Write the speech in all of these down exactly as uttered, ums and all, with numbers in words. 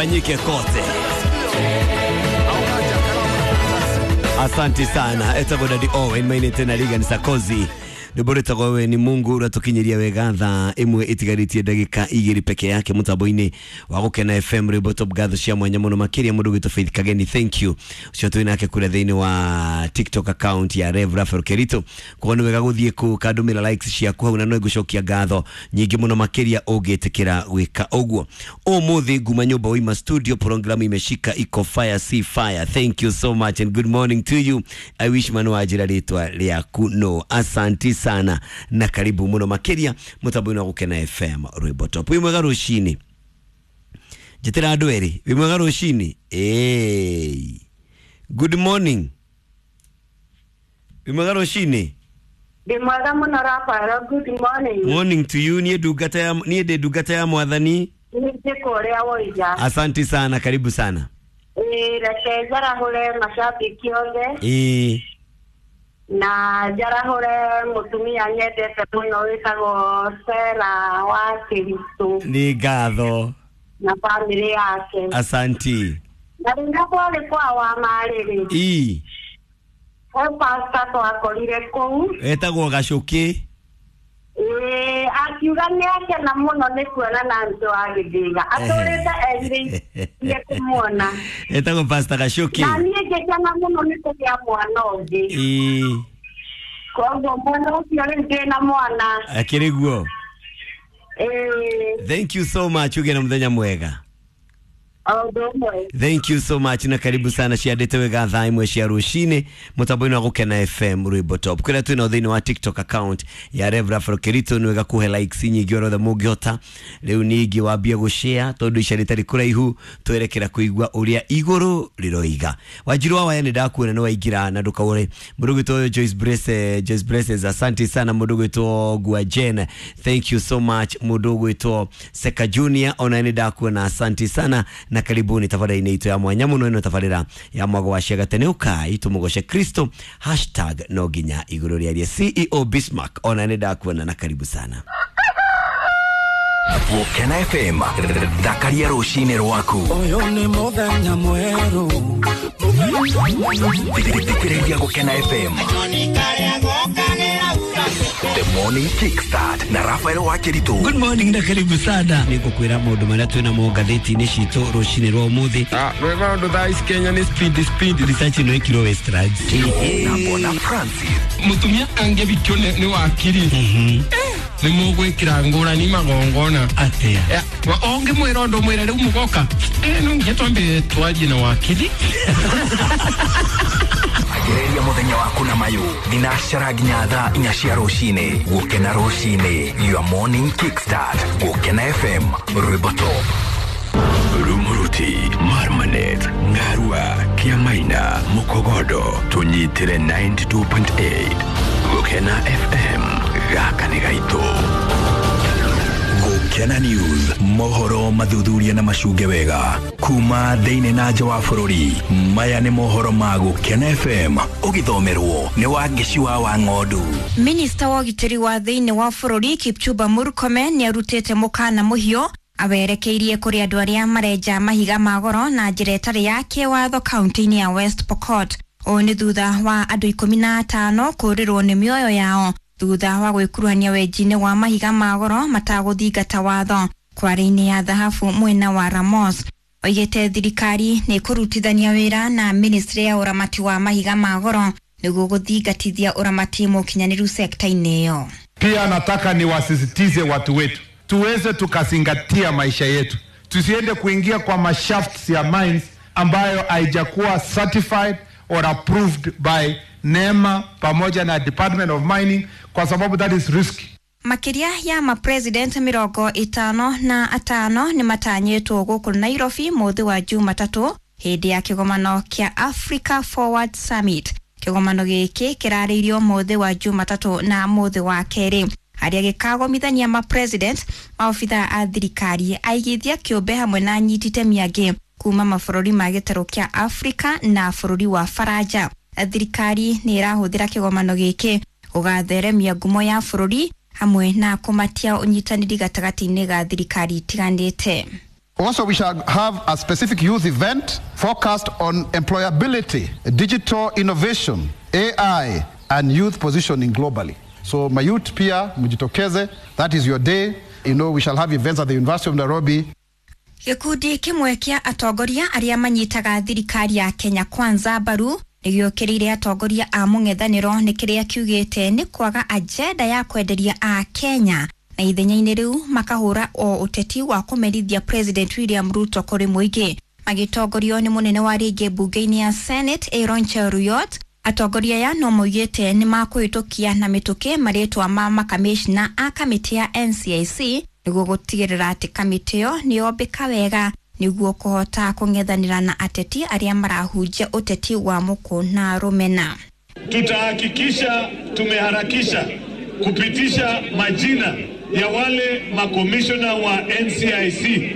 Ifanyike kote. Asante sana etagwo Daddy Owen maine tena liga ni sakozi ndibore we ni Mungu uratukinyiria wega thaa imwe itigarĩtie ndagĩka igĩrĩ peke yake mũtambo-inĩ wa Gũkena F M rwĩmbo top gatho cia mwanya mũno makĩria mũndũ gwĩtwo Faith Kageni, thank you ũcio twĩ nake kũrĩa thĩinĩ wa TikTok account ya Rev Raphael Kerito. Koguo nĩ wega gũthiĩ kũu kandũmĩra likes ciaku hau na no ngũcokia ngatho nyingĩ mũno makĩria ũngĩtĩkĩra gwĩka ũguo. Ũmũthĩ nguma nyũmba Wima studio program imeshika iko fire see fire, thank you so much and good morning to you. I wish manu wajira rĩtwa rĩaku no asanti sana na karibu muno makiria mutambo-inĩ wa Gũkena F M rwĩmbo top. Wĩ mwega rũcinĩ, njĩtĩra andũ erĩ. Wĩ mwega rũcinĩ, eh good morning. Wĩ mwega rũcinĩ. Ndĩ mwega mũno Raphael, good morning. Morning to you. Niĩ ndungata ya niĩ ndĩ ndungata ya mwathani. Nĩ kũrĩa woiga. Asante sana, karibu sana. Eh reke njarahũre mashabiki othe. Eh na njarahũre mũtumia nyendete mũno wĩtagwo Sera wa Kristo. Nĩ ngatho. Na bamĩrĩ yake. Asanti. Na rĩrĩa kwarĩ kwa wa marĩrĩ. Ii. He pastor twakorire kũu. Etagwo Gacũkĩ. Ĩĩ, akiuga nĩ akena mũno nĩ kuona na andũ a Gĩthĩga. Atũrĩte erirĩirie kũmuona. Etagwo Pastor Gacũkĩ. Na niĩ ngĩkena mũno nĩ kũgĩa mwana ũngĩ. Ĩĩ. Koguo mwana ũcio rĩu ndĩna mwana. Akĩrĩ guo. Ĩĩ. Thank you so much, ũgĩe na mũthenya mwega. Thank you so much na karibu sana ciandĩte wega thaa imwe cia rũcinĩ mũtambo-inĩ wa Gũkena F M rwĩmbo top kũrĩa twĩna thĩinĩ wa TikTok account ya Rev Raphael Kerito. Nĩ wega kũhe likes nyingĩ orothe mũngĩhota. Rĩu ningĩ wambie gũshare tondũ ica rĩtarĩ kũraihu twerekera kũigua ũrĩa igũrũ rĩroiga. Wanjiru wa Waya nĩ ndakuona nĩ waingĩra na ndũkaũre. Mũndũ gwĩtwo Joyce Brace, Joyce Braces, asante sana. Mũndũ gwĩtwo Gua Jen, thank you so much. Mũndũ gwĩtwo Seka Junior ona nĩ ndakuona, asante sana na karibuni tabarĩra-inĩ itũ ya mwanya mũno ĩno tabarĩra ya mwago wa ciagatene ũkai tũmũgoce Kristo hashtag no nginya igũrũ rĩarie. C E O Bismarck ona nĩ ndakuona na karibu sana. Gũkena F M thakaria rũcinĩ rwaku. Ũyũ nĩ mũthenya mwerũ. Thikĩrĩria Gũkena F M The Morning Kickstart na Raphael Wakiritu. Good morning na karibu sana. Nĩngũkwĩra maũndũ marĩa twĩna mo ngathĩti-inĩ citũ rũcinĩ rwa ũmũthĩ. Ah, rwĩmbo rũndũ thaa ici Kenya nĩ speed speed. Research ĩno ĩkirwo Westlands. Na Bona Francis. Mũtumia angĩbikio nĩ wakiri. Nĩ mũgwĩkĩra ngũrani magongona. Atĩa? Ũngĩmwĩra ũndũ mwĩre rĩu mũgoka. Eh, no nginya twambe twarie na wakiri. Anjĩrĩria mũthenya waku na mayũ thinacara nginya thaa inya cia rũcinĩ. Gũkena rũcinĩ, your morning kickstart. Gũkena F M rwĩmbo top. Rumuruti, Marmanet, Ngarua, Kiamaina, Mukogodo, tunyitire ninety-two point eight. Gũkena F M, gaka nĩ gaitũ. Gũkena News, mohoro mathuthuria na macunge wega kuma thĩinĩ na nja wa bũrũri. Maya nĩ mohoro ma Gũkena F M ũgĩthomerwo nĩ Wangeci wa Wang'ondu. Minista wa ũgitĩri wa thĩinĩ wa bũrũri Kipchumba Murkomen nĩ arutĩte mũkana mũhiũ awerekeirie kũrĩ andũ arĩa marenja mahiga ma goro na njĩra ĩtarĩ ya kĩwatho kaunti-inĩ ya West Pokot. Ũũ nĩ thutha wa andũ ikũmi na atano kũũrĩrwo nĩ mĩoyo yao thutha wa gwĩkuruhania wenji-inĩ wa mahiga ma goro matagũthingata watho kware-inĩ ya thahabu mwena wa Ramos. Oigĩte thirikari nĩ ĩkũrutithania wĩra na ministry ya ũramati wa mahiga ma goro nĩguo gũthingatithia ũramati mũkinyanĩru sekta-inĩ ĩyo. Pia nataka niwasisitize watu wetu tuweze tukazingatia maisha yetu, tusiende kuingia kwa mashafts ya mines ambayo haijakuwa certified or approved by NEMA pamoja na Department of Mining, kwa sababu that is risky. Makiria ya ma-president mĩrongo ĩtano na atano nĩ matanyĩtwo gũkũ Nairobi mũthĩ wa Jumatatũ hĩndĩ ya kĩgomano kĩa Africa Forward Summit. Kĩgomano gĩkĩ kĩrarĩirio mũthĩ wa Jumatatũ na mũthĩ wa kerĩ harĩa gĩkagomithania ma-president, maobithaa a thirikari, aigithia kĩũmbe hamwe na anyiti itemi angĩ kuma mabũrũri ma gĩtarũ kĩa Africa na bũrũri wa Faranja. Thirikari nĩ ĩrahũthĩra kĩgomano gĩkĩ gũgatheremia ngumo ya bũrũri hamwe na kũmatia ũnyitanĩri gatagatĩ-inĩ ga thirikari itiganĩte. Also, we shall have a specific youth event focused on employability, digital innovation, A I, and youth positioning globally. So, my youth pia, mjitokeze, that is your day. You know, we shall have events at the University of Nairobi. Gĩkundi kĩmwe kĩa atongoria arĩa manyitaga thirikari ya Kenya Kwanza mbaru nĩgĩũkĩrĩire atongoria a mũng'ethanĩro nĩ kĩrĩa kiugĩte nĩ kwaga agenda ya kwenderia a Kenya na ithenya-inĩ rĩu makahũra o ũteti wa kũmerithia President William Ruto kũrĩ mũingĩ. Magĩtongorio nĩ mũnene wa rĩngĩ mbunge-inĩ ya Senate Aaron Cheruiyot, atongoria aya no maugĩte nĩ makũhĩtũkia na mĩtũkĩ marĩtwa ma makamĩcina a kamĩtĩ ya N C I C nĩguo gũtigĩrĩra atĩ kamĩtĩ ĩyo nĩyombĩka wega nĩguo kũhota kũng'ethanĩra na ateti arĩa marahunjia ũteti wa mũkũ na rũmena. Tutahakikisha tumeharakisha kupitisha majina ya wale makomishona wa N C I C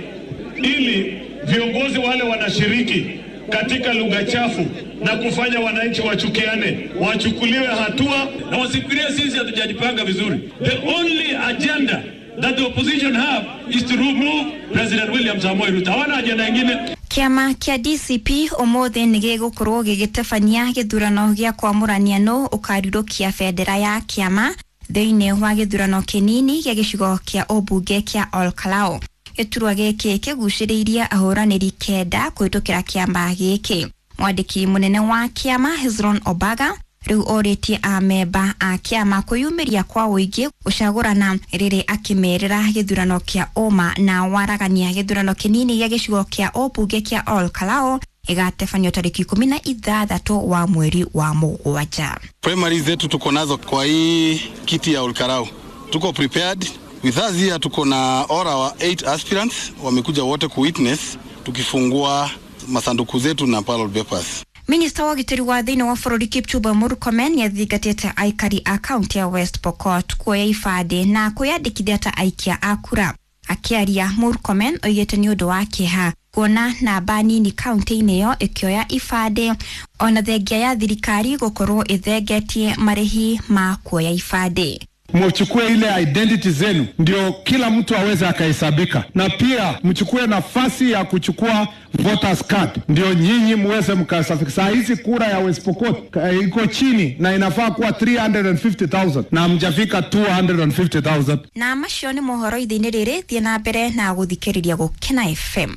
ili viongozi wale wanashiriki katika lugha chafu na kufanya wananchi wachukiane wachukuliwe hatua, na wasifikirie sisi hatujajipanga vizuri. The only agenda that the opposition have is to remove President William Samoei Ruto. Hawana agenda nyingine. Kĩama kĩa D C P ũmũthĩ nĩ gĩgũkorwo gĩgĩtabania gĩthurano gĩa kwamũrania nũ ũkarirũkia bendera ya kĩama thĩinĩ wa gĩthurano kĩnini gĩa gĩcigo kĩa ũmbunge kĩa Olkalou. Gĩturwa gĩkĩ kĩgucĩrĩirie ahũranĩri kenda kũhĩtũkĩra kĩama gĩkĩ. Mwandĩki mũnene wa kĩama Hezron Obaga rĩu orĩtie amemba a kĩama kwĩyumĩria kwa ũingĩ gũcagũrana rĩrĩ akĩmerĩra gĩthurano kĩa ũma na waragania. Gĩthurano kĩnini gĩa gĩcigo kĩa ũmbunge kĩa Olkalou ĩgatebanio tarĩki ikũmi na ithathatũ wa mweri wa mũgwanja. Primaries zetu tuko nazo kwa hii kiti ya Olkalou. Tuko prepared. With us here tuko na all our eight aspirants wamekuja wote ku witness tukifungua masanduku zetu na ballot papers. Minista wa ũgitĩri wa thĩinĩ wa bũrũri Kipchumba Murkomen nĩathingatĩte aikari a kaunti ya West Pokot kuoya ibandĩ na kwĩyandĩkithia ta aikia a kura. Akĩaria, Murkomen oigĩte nĩ ũndũ wa kĩeha kuona namba nini kaunti-inĩ ĩyo ĩkĩoya ibandĩ ona thengia ya thirikari gũkorwo ĩthengetie marĩhi ma kuoya ibandĩ. Mchukue ile identity zenu ndio kila mtu aweze akahesabika, na pia mchukue nafasi ya kuchukua voters card ndio nyinyi muweze mkasafika. Saa hizi kura ya West Pokot iko chini na inafaa kuwa three hundred fifty thousand na mjafika two hundred fifty thousand. Na macio nĩ mohoro ithĩ-inĩ rĩrĩ, thiĩ na mbere na gũthikĩrĩria Gũkena F M.